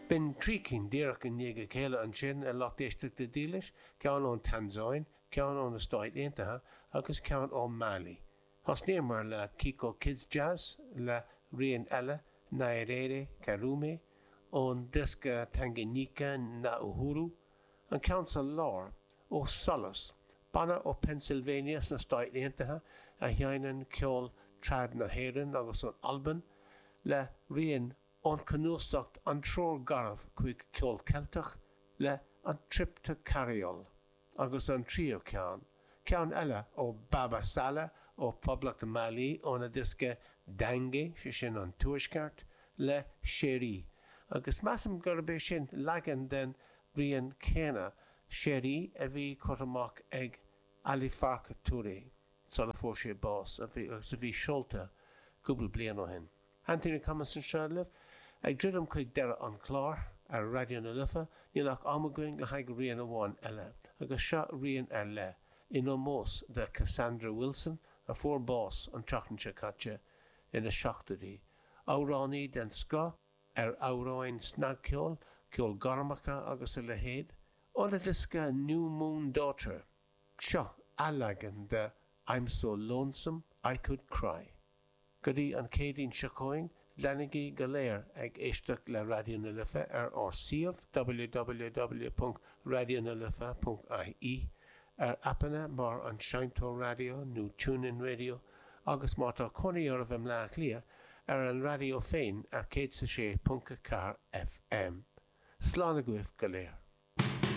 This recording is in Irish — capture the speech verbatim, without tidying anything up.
B'in trí cinn díreach i ndiaidh a chéile ansin, a lucht éisteachta dílis, ceann ón Tansáin, ceann ó na Stáit Aontaithe agus ceann ó Mali. Thosnaíomar le Kiko Kids Jazz le rian eile, Nyerere Karume, ón diosca Tanganyika na Uhuru, an ceann sa lár ó Solas, banna ó Pennsylvania sna Stáit Aontaithe a sheinneann ceol trad na hÉireann agus ón Albain, le rian ón chnuasach An Treoir Gharbh chuig Ceol Ceilteach le An Trip to Carryall agus an tríú ceann, ceann eile ó Baba Sala ó Phoblacht Mali óna diosca Dange, sé sin an Tuaisceart, le Chérie, agus measaim gurb é sin leagan den rian céanna Chérie a bhí curtha amach ag Ali Farka Touré sula fuair sé bás agus a bhí seolta cúpla bliain ó shin. Anthony Cummins anseo libh, ag druidim chuig deireadh an chláir ar Raidió na Life, níl ach am againn le haghaidh rian amháin eile, agus seo rian ar leith, in ómós do Cassandra Wilson a fuair bás an tseachtain seo caite ina seachtóidí, amhránaí den scoth ar amhráin snagcheoil, ceol gormacha agus a leithéid, óna diosca New Moon Daughter, seo athleagan de I'm So Lonesome I Could Cry. Go dtí an Chéadaoin seo chugainn, leanaigí go léir ag éisteacht le Raidió na Life ar ár suíomh www.radionalife.ie ar aipeanna mar an Seinnteoir Raidió nó TuneIn Radio agus má tá cónaí oraibh i mBleá Cliath ar an raidió féin ar céad sé ponc ceathair FM. Slán agaibh go léir.